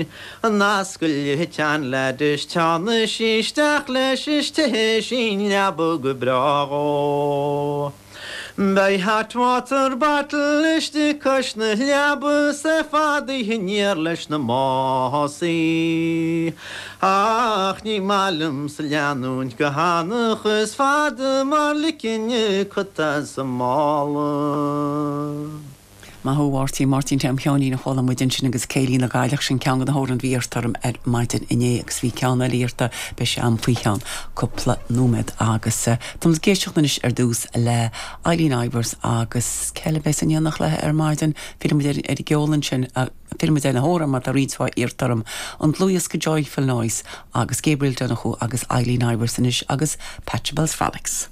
féin An ascaill a thit an leaid is teannfaidh sí isteach leis is titfidh sí i leaba go breá dhó. Beidh hot water bottle istigh cois na leaba 's é fadaithe aniar leis na másaí. Ach ní maith liomsa leanúint go hanach is fada mar ligfinn cut as an mála. Maith thú, a Mháirtín. Máirtín Tom Sheáinín a chuala muid ansin agus Céilí na gCailleach, sin ceann de na hamhráin a bhí iarrta orm ar maidin inné agus bhí ceann eile iarrta, beidh sé a'm faoi cheann cúpla nóiméad agus tá muid ag éisteacht anois ar dtús le Eileen Ivers agus cé eile a bheas in éineacht léi ar maidin? Fillfidh muid ar an gceol ansin, fillfidh muid ar na hamhráin mar tá roinnt mhaith iarrta orm. An dlúthdhiosca Joyful Noise agus Gabriel Donoghue agus Eileen Ivers anois agus Pachelbel's Frolics.